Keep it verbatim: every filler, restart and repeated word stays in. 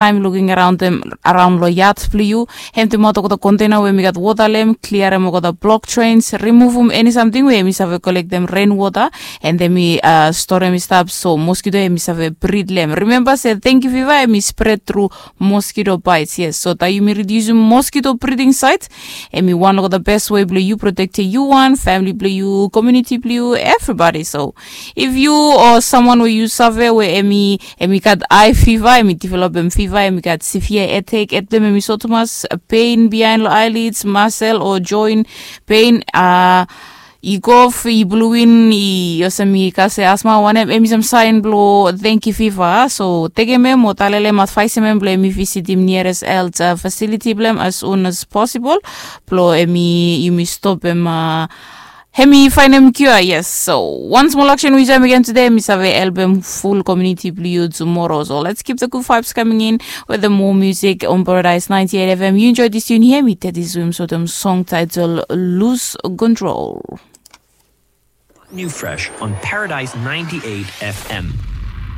taem luking araon long yat blong yu. Hem temaot olgeta kontena we hem i gat wota long hem, kliarem olgeta blok trens, rimuvum eni samting we hem i save kolektem ren wota, en hem i storem i stap so moskito hem i save brid long hem. Rimemba se dengki fiva hem i spred tru moskito baets. Yes, so taem yumi ridiusim moskito briding saet, hem i wan olgeta bes we blong yu protektem yu wan, famili blong yu, komuniti blong yu, evribadi. So if yu o samwan we yu save we hem i hem i gat ae fiva, hem i developem fiva, hem i gat sevia hetek, hed blong hem hem i so tumas, pein biaen long aelids, masel o joen pein, a i gof, i bluin, i olsem i kase asma, wanem hem i sam saen blong dengki fiva. So tekem hem o talem long hem, advaesem hem blong hem i visitim niares helt fasiliti blong hem as un as posibol, blong hem i yumi stopem a hem i faenem kiua. Yes, so wan smol aksen we yu save mekem tude hem i save helpem ful komuniti blong yu tumoro. So let's keep the good vibes coming in with the more music on Paradise ninety-eight F M. Yu enjoy this tune here, mi tedi swim sotem song title Lose Control. New fresh on Paradise ninety-eight F M.